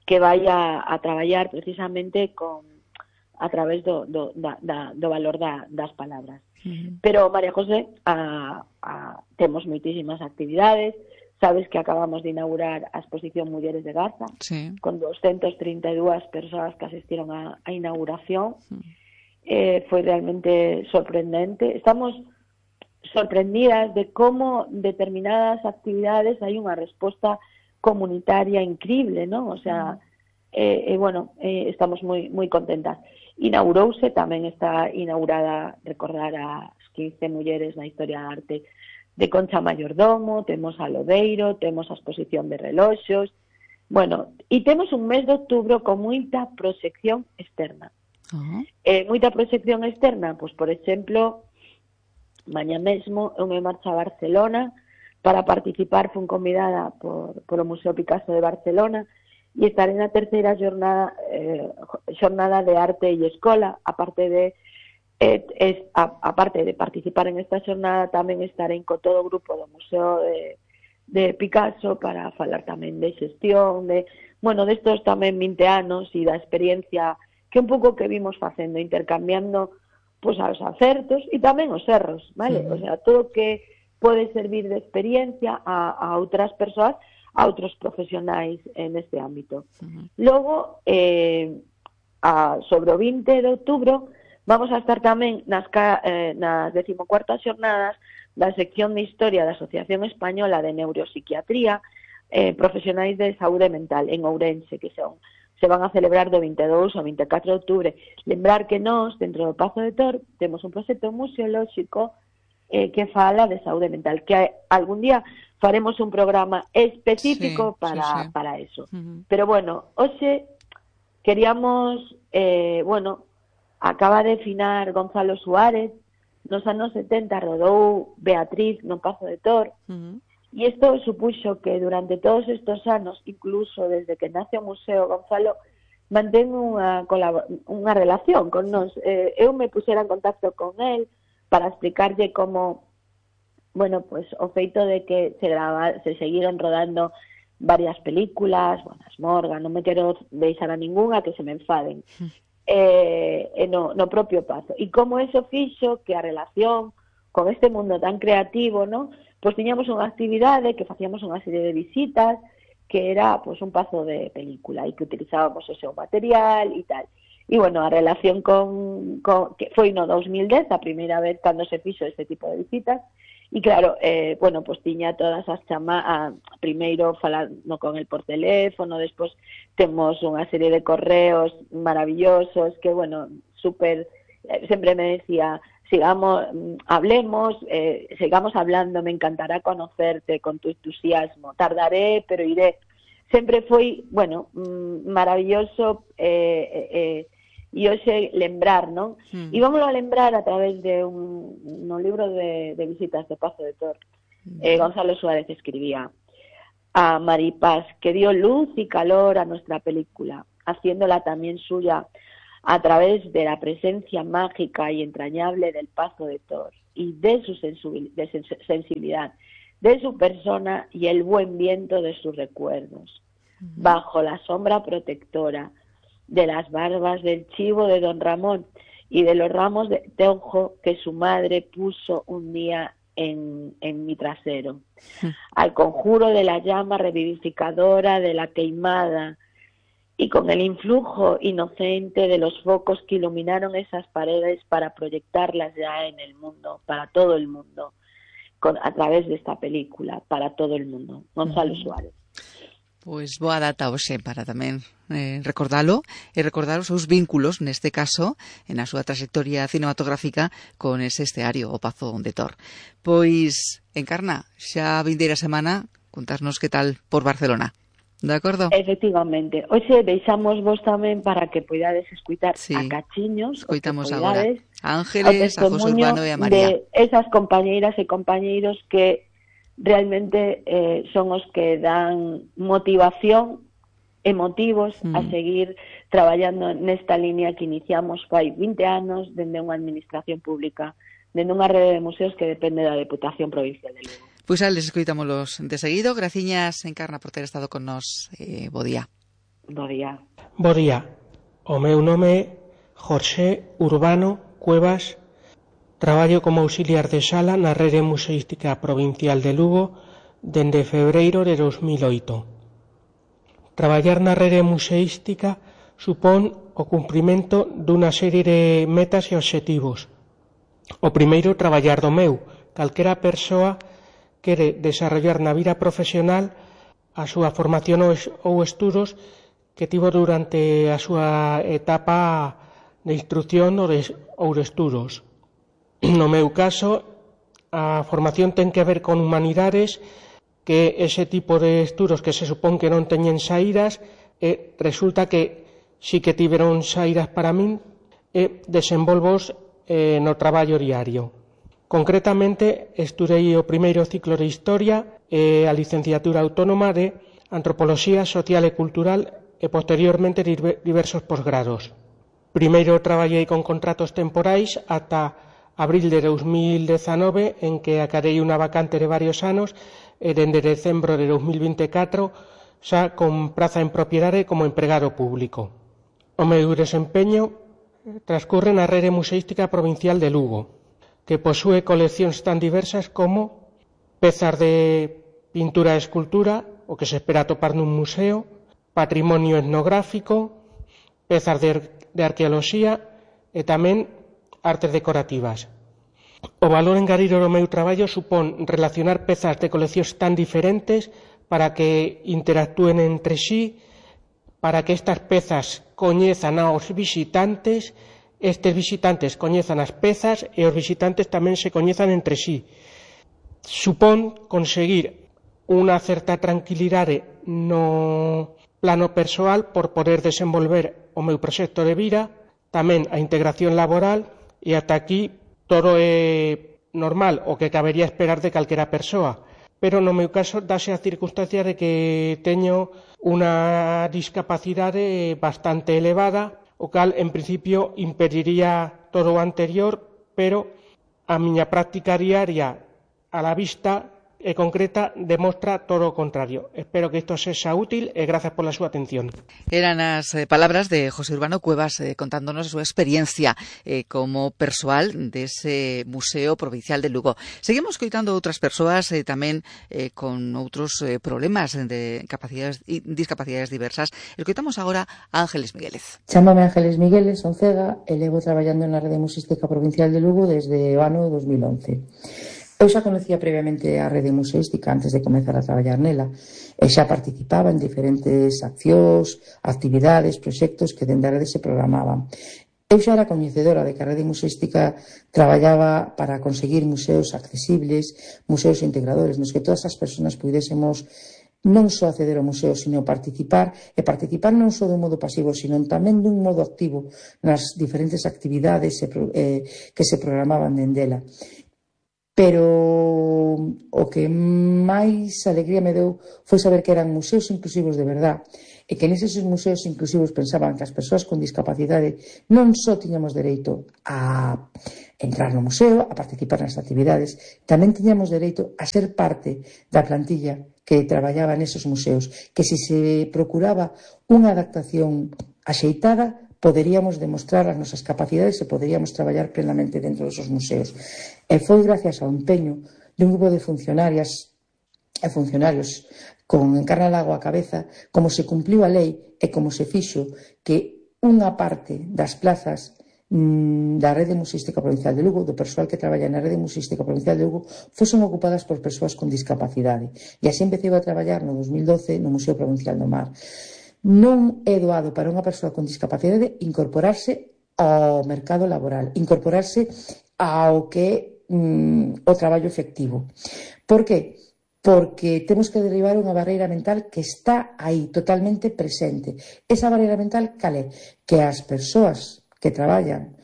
que vai a traballar precisamente a través do valor das palabras. Pero, María José, temos moitísimas actividades. Sabes que acabamos de inaugurar a exposición Mulleres de Gaza, con 232 persoas que asistiron á inauguración. Foi realmente sorprendente. Estamos sorprendidas de como determinadas actividades hai unha resposta comunitaria increíble, ¿no? O sea, estamos moi contentas. Inaugurouse, tamén está inaugurada, recordar as 15 mulleres na historia da arte de Concha Mayordomo, temos a Lodeiro, temos a exposición de reloxos, e temos un mes de outubro con moita proxección externa. Moita proxección externa, pois, por exemplo, mañá mesmo eu me marcho a Barcelona para participar, fun convidada polo Museo Picasso de Barcelona e estaré na terceira xornada de arte e escola, aparte de participar en esta xornada, tamén estaré co todo o grupo do Museo de Picasso para falar tamén de xestión, destos tamén 20 anos e da experiencia que un pouco que vimos facendo, intercambiando pois os acertos e tamén os erros, vale? O sea, todo que pode servir de experiencia a outras persoas, a outros profesionais neste ámbito. Logo, sobre o 20 de outubro, vamos a estar tamén nas 14ª xornadas da sección de Historia da Asociación Española de Neuropsiquiatría, profesionais de saúde mental en Ourense, que se van a celebrar do 22 ao 24 de outubro. Lembrar que nós, dentro do Pazo de Tor, temos un proxecto museolóxico que fala de saúde mental, que algún día faremos un programa específico para eso. Pero, hoxe queríamos, acaba de finar Gonzalo Suárez, nos anos 70 rodou Beatriz no Pazo de Tor, e isto supuxo que durante todos estos anos, incluso desde que nace o museo, Gonzalo mantén unha relación con nós. Eu me puxera en contacto con él para explicarlle como, o feito de que se seguiron rodando varias películas, as Morgan, non me quero deixar a ningunha que se me enfaden, no propio Pazo. E como eso fixo que a relación con este mundo tan creativo, ¿no? Pois tiñamos unha actividade que facíamos unha serie de visitas que era un pazo de película e que utilizábamos o seu material e tal. E, a relación que foi no 2010, a primeira vez cando se fixo este tipo de visitas, e claro, tiña todas as chamadas, primeiro falando con el por teléfono, despois temos unha serie de correos maravillosos que, super, sempre me decía, hablemos, sigamos hablando, me encantará conocerte con tu entusiasmo, tardaré, pero iré. Sempre foi, maravilloso e hoxe lembrar, non? E vamos a lembrar a través de no libro de visitas de Pazo de Tor. Gonzalo Suárez escribía a Maripaz, que dio luz y calor a nuestra película, haciéndola también suya a través de la presencia mágica y entrañable del Pazo de Tor y de su sensibilidad, de su persona y el buen viento de sus recuerdos, bajo la sombra protectora de las barbas del chivo de don Ramón y de los ramos de tejo que su madre puso un día en mi trasero, al conjuro de la llama revivificadora de la queimada y con el influjo inocente de los focos que iluminaron esas paredes para proyectarlas ya en el mundo, para todo el mundo, a través de esta película, para todo el mundo. Gonzalo Suárez. Pois boa data hoxe para tamén recordalo e recordar os seus vínculos, neste caso, na súa trayectoria cinematográfica con ese esteario, o Pazo de Tor. Pois, Encarna, xa a vindeira semana, contasnos que tal por Barcelona. De acordo? Efectivamente. Hoxe deixamos vos tamén para que poidades escutar a cachiños. Escoitamos agora a Ángeles, a José Urbano e a María. De esas compañeiras e compañeiros que realmente son os que dan motivación e motivos a seguir traballando nesta línea que iniciamos fai 20 anos dende unha administración pública, dende unha rede de museos que depende da Deputación Provincial de Lugo. Pois les escoitámolos de seguido. Graciñas, Encarna, por ter estado con nos. Bo día. Bo día. Bo día. O meu nome é José Urbano Cuevas. Traballo como auxiliar de sala na Rede Museística Provincial de Lugo dende febreiro de 2008. Traballar na rede museística supón o cumprimento dunha serie de metas e obxectivos. O primeiro, traballar do meu. Calquera persoa quere desarrollar na vida profesional a súa formación ou estudos que tivo durante a súa etapa de instrucción ou de estudos. No meu caso, a formación ten que ver con humanidades, que ese tipo de estudos que se supón que non teñen saídas, resulta que sí que tiveron saídas para min e desenvolvos no traballo diario. Concretamente, estudei o primeiro ciclo de Historia e a licenciatura autónoma de Antropoloxía Social e Cultural e posteriormente diversos posgrados. Primeiro traballei con contratos temporais ata abril de 2019, en que acadei unha vacante de varios anos, e dende decembro de 2024 xa con praza en propiedade como empregado público. O meu desempeño transcurre na Rede Museística Provincial de Lugo, que posúe coleccións tan diversas como pezas de pintura e escultura, o que se espera atopar nun museo, patrimonio etnográfico, pezas de arqueoloxía e tamén artes decorativas. O valor engadido do meu traballo supón relacionar pezas de coleccións tan diferentes para que interactúen entre sí, para que estas pezas coñezan aos visitantes, estes visitantes coñezan as pezas e os visitantes tamén se coñezan entre sí. Supón conseguir unha certa tranquilidade no plano persoal por poder desenvolver o meu proxecto de vida, tamén a integración laboral. E ata aquí todo é normal, o que cabería esperar de calquera persoa. Pero no meu caso dáse a circunstancia de que teño unha discapacidade bastante elevada, o cal en principio impediría todo o anterior, pero a miña práctica diaria a la vista e concreta demostra todo o contrario. Espero que isto sexa útil e grazas pola súa atención. Eran as palabras de José Urbano Cuevas contándonos a súa experiencia como persoal dese Museo Provincial de Lugo. Seguimos coitando outras persoas tamén con outros problemas de discapacidades diversas. Escoitamos agora a Ángeles Miguélez. Chámame Ángeles Miguélez, son cega e levo traballando na Rede Museística Provincial de Lugo desde o ano 2011. Eu xa conocía previamente a Rede Museística antes de comezar a traballar nela e xa participaba en diferentes accións, actividades, proxectos que dende a rede se programaban. Eu xa era coñecedora de que a Rede Museística traballaba para conseguir museos accesibles, museos integradores, nos que todas as persoas pudésemos non só acceder ao museo, sino participar, e participar non só dun modo pasivo, sino tamén dun modo activo nas diferentes actividades que se programaban dendela. Pero o que máis alegría me deu foi saber que eran museos inclusivos de verdad, e que neses museos inclusivos pensaban que as persoas con discapacidade non só tiñamos dereito a entrar no museo, a participar nas actividades, tamén tiñamos dereito a ser parte da plantilla que traballaba nesos museos, que se procuraba unha adaptación axeitada, poderíamos demostrar as nosas capacidades e poderíamos traballar plenamente dentro dos museos. E foi gracias ao empeño de un grupo de funcionarias e funcionarios con Encarna Lago á cabeza como se cumpliu a lei e como se fixo que unha parte das plazas da Rede Museística Provincial de Lugo, do persoal que traballa na Rede Museística Provincial de Lugo, fosen ocupadas por persoas con discapacidade. E así empecé a traballar no 2012 no Museo Provincial do Mar. Non é doado para unha persoa con discapacidade incorporarse ao mercado laboral, incorporarse ao que o traballo efectivo. Por que? Porque temos que derribar unha barreira mental que está aí, totalmente presente. Esa barreira mental, cal é? Que as persoas que traballan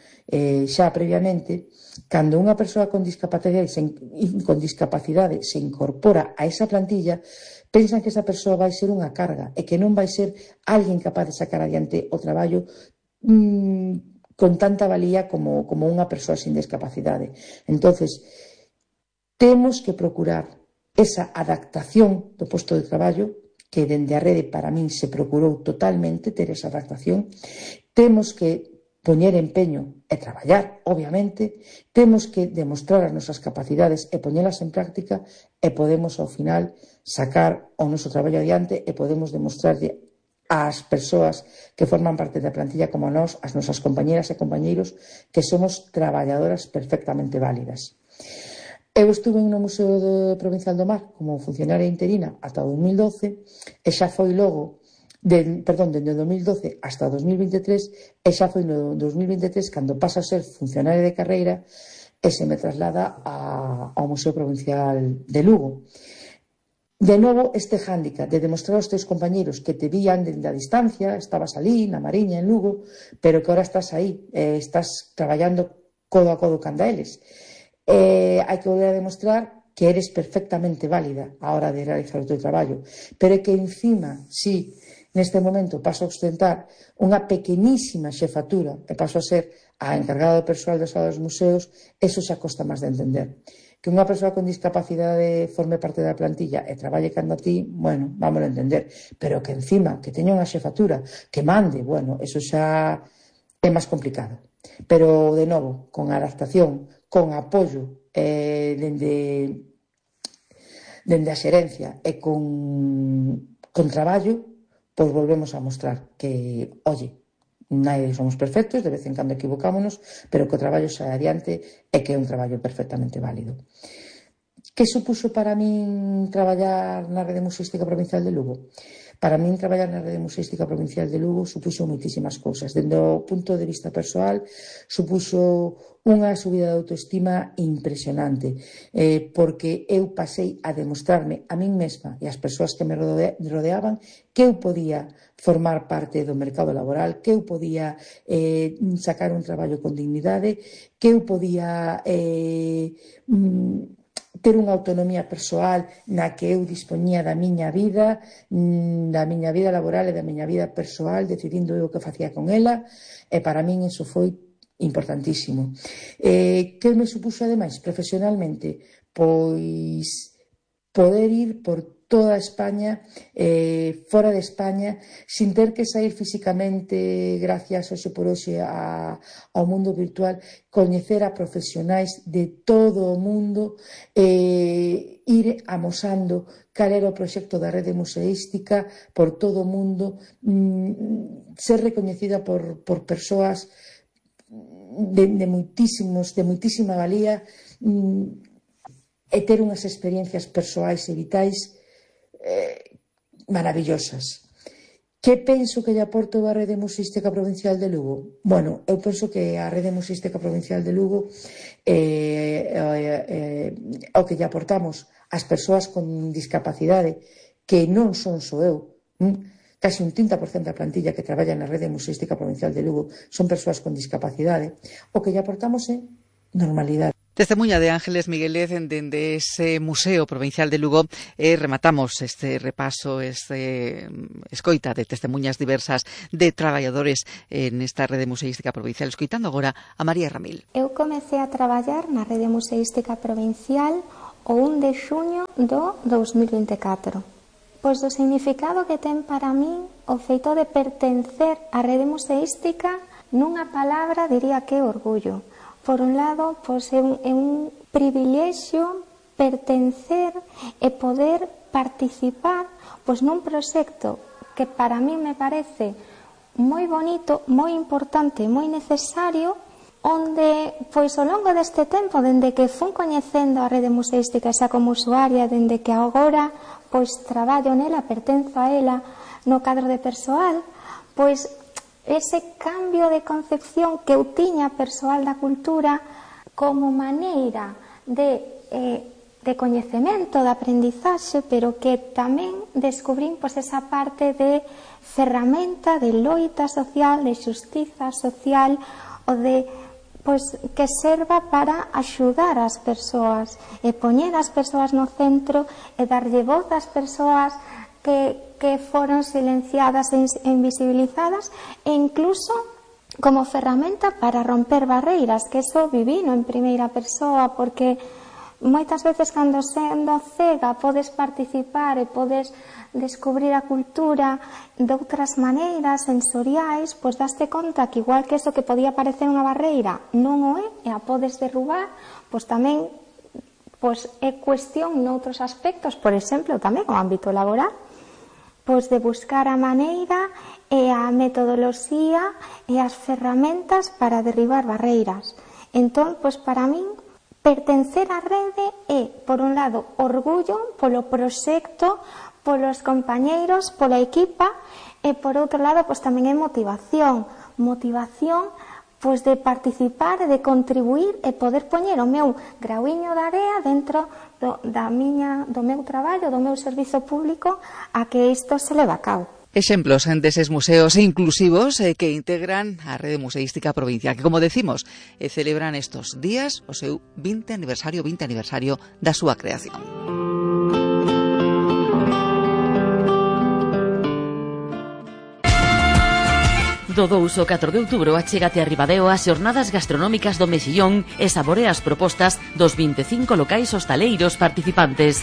xa previamente, cando unha persoa con discapacidade se incorpora a esa plantilla, pensan que esa persoa vai ser unha carga e que non vai ser alguén capaz de sacar adiante o traballo con tanta valía como unha persoa sin discapacidade. Entonces, temos que procurar esa adaptación do posto de traballo, que dende a rede para min se procurou totalmente ter esa adaptación. Temos que poñer empeño e traballar, obviamente, temos que demostrar as nosas capacidades e poñelas en práctica e podemos ao final sacar o noso traballo adiante e podemos demostrarlle ás persoas que forman parte da plantilla como nós, as nosas compañeras e compañeiros, que somos traballadoras perfectamente válidas. Eu estuve no Museo Provincial do Mar como funcionaria interina ata 2012 e xa foi logo dende 2012 hasta 2023 e xa foi no 2023 cando pasa a ser funcionaria de carreira e se me traslada ao Museo Provincial de Lugo. De novo, este hándicap de demostrar aos teus compañeros que te vían dende a distancia, estabas ali, na Mariña, en Lugo, pero que ahora estás aí, estás traballando codo a codo canda eles. Hai que volver a demostrar que eres perfectamente válida a hora de realizar o teu traballo, pero que encima, si neste momento paso a ostentar unha pequenísima xefatura e paso a ser a encargada do persoal das salas dos museos, eso xa costa máis de entender. Que unha persoa con discapacidade forme parte da plantilla e traballe cando a ti, bueno, vámoslo a entender, pero que encima que teña unha xefatura, que mande, bueno, eso xa é máis complicado. Pero, de novo, con adaptación, con apoio dende a xerencia e con traballo, pois volvemos a mostrar que, oye, nadie somos perfectos, de vez en cando equivocámonos, pero que o traballo sae adiante e que é un traballo perfectamente válido. Que supuxo para min traballar na Rede Museística Provincial de Lugo? Para min traballar na Rede Museística Provincial de Lugo supuxo moitísimas cousas. Dende o punto de vista persoal, supuxo unha subida de autoestima impresionante, porque eu pasei a demostrarme a min mesma e as persoas que me rodeaban que eu podía formar parte do mercado laboral, que eu podía sacar un traballo con dignidade, que eu podía ter unha autonomía persoal na que eu dispoñía da miña vida laboral e da miña vida persoal, decidindo eu o que facía con ela, e para min iso foi importantísimo. Que me supuxo ademais profesionalmente? Pois poder ir por toda España, fora de España, sin ter que sair físicamente, gracias hoxe por hoxe ao mundo virtual, coñecer a profesionais de todo o mundo, ir amosando cal era o proxecto da Rede Museística por todo o mundo, ser recoñecida por persoas de moitísima valía, e ter unhas experiencias persoais e vitais maravillosas. Que penso que lle aporto a Rede Museística Provincial de Lugo? Bueno, eu penso que a Rede Museística Provincial de Lugo o que lle aportamos ás persoas con discapacidade, que non son só eu, casi un 30% da plantilla que traballa na Rede Museística Provincial de Lugo son persoas con discapacidade, o que lle aportamos é normalidade. Testemuña de Ángeles Miguelez dende ese Museo Provincial de Lugo. Rematamos este repaso, escoita de testemuñas diversas de traballadores en esta Rede Museística Provincial. Escoitando agora a María Ramil. Eu comecei a traballar na Rede Museística Provincial o 1 de xuño do 2024. Pois o significado que ten para min o feito de pertencer á Rede Museística, nunha palabra diría que é orgullo. Por un lado, pois é un privilexio pertencer e poder participar pois nun proxecto que para mí me parece moi bonito, moi importante, moi necesario, onde pois ao longo deste tempo, dende que fun coñecendo a Rede Museística xa como usuaria, dende que agora pois traballo nela, pertenzo a ela no cadro de persoal, pois ese cambio de concepción que eu tiña persoal da cultura como maneira de coñecemento, de aprendizaxe, pero que tamén descubrín pois esa parte de ferramenta, de loita social, de xustiza social, ou de pois que serva para axudar as persoas e poñer as persoas no centro e darlle voz ás persoas que foron silenciadas e invisibilizadas, e incluso como ferramenta para romper barreiras, que eso vivino en primeira persoa, porque moitas veces cando sendo cega podes participar e podes descubrir a cultura de outras maneiras sensoriais, pois daste conta que igual que eso que podía parecer unha barreira non o é e a podes derrubar, pois tamén pois é cuestión noutros aspectos, por exemplo, tamén o ámbito laboral, pois de buscar a maneira e a metodoloxía e as ferramentas para derribar barreiras. Entón, pois para min, pertencer á rede é, por un lado, orgullo polo proxecto, polos compañeiros, pola equipa, e por outro lado, pois tamén é motivación pois de participar, de contribuir e poder poñer o meu grauiño de area dentro do meu traballo, do meu servizo público, a que isto se leva a cabo. Exemplos deses museos inclusivos que integran a Rede Museística Provincial, que, como decimos, celebran estos días o seu 20 aniversario da súa creación. Do 2 ao 4 de outubro achégate a Ribadeo as xornadas gastronómicas do Mexillón e saborea as propostas dos 25 locais hostaleiros participantes.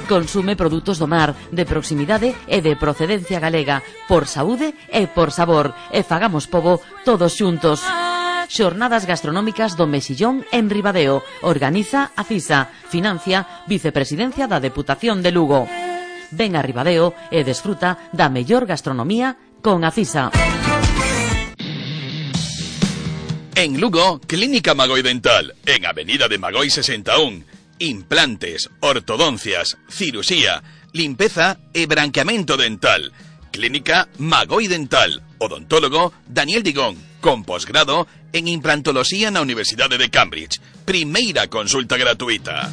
Consume produtos do mar, de proximidade e de procedencia galega, por saúde e por sabor, e fagamos pobo todos xuntos. Xornadas gastronómicas do Mexillón en Ribadeo. Organiza a CISA. Financia Vicepresidencia da Deputación de Lugo. Ven a Ribadeo e desfruta da mellor gastronomía con a CISA. En Lugo, Clínica Magoi Dental, en Avenida de Magoi 61. Implantes, ortodoncias, cirusía, limpeza e branqueamento dental. Clínica Magoi Dental. Odontólogo Daniel Digón, con posgrado en implantoloxía na Universidade de Cambridge. Primeira consulta gratuita.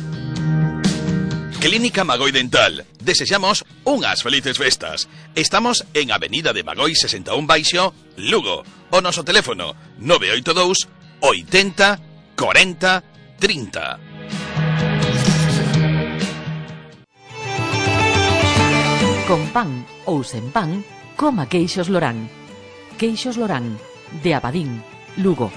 Clínica Magoi Dental. Desexamos unhas felices festas. Estamos en Avenida de Magoi 61 Baixo, Lugo. O noso teléfono 982 80 40 30. Con pan ou sen pan, coma queixos Lorán. Queixos Lorán, de Abadín, Lugo.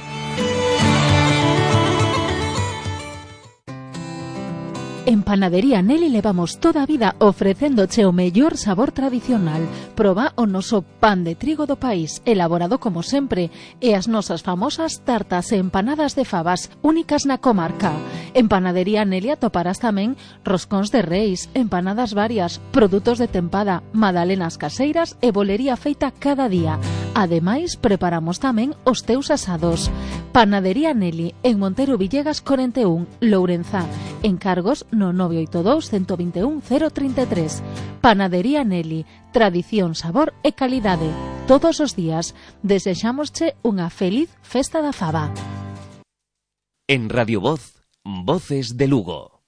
En Panadería Nelly levamos toda a vida ofrecéndoche o mellor sabor tradicional. Proba o noso pan de trigo do país, elaborado como sempre, e as nosas famosas tartas e empanadas de fabas, únicas na comarca. En Panadería Nelly atoparás tamén roscóns de reis, empanadas varias, produtos de tempada, magdalenas caseiras e bolería feita cada día. Ademais, preparamos tamén os teus asados. Panadería Nelly, en Montero Villegas 41, Lourenzá. Encargos no 982 121 033. Panadería Nelly, tradición, sabor e calidade. Todos os días desexámosche unha feliz festa da faba. En Radio Voz, Voces de Lugo.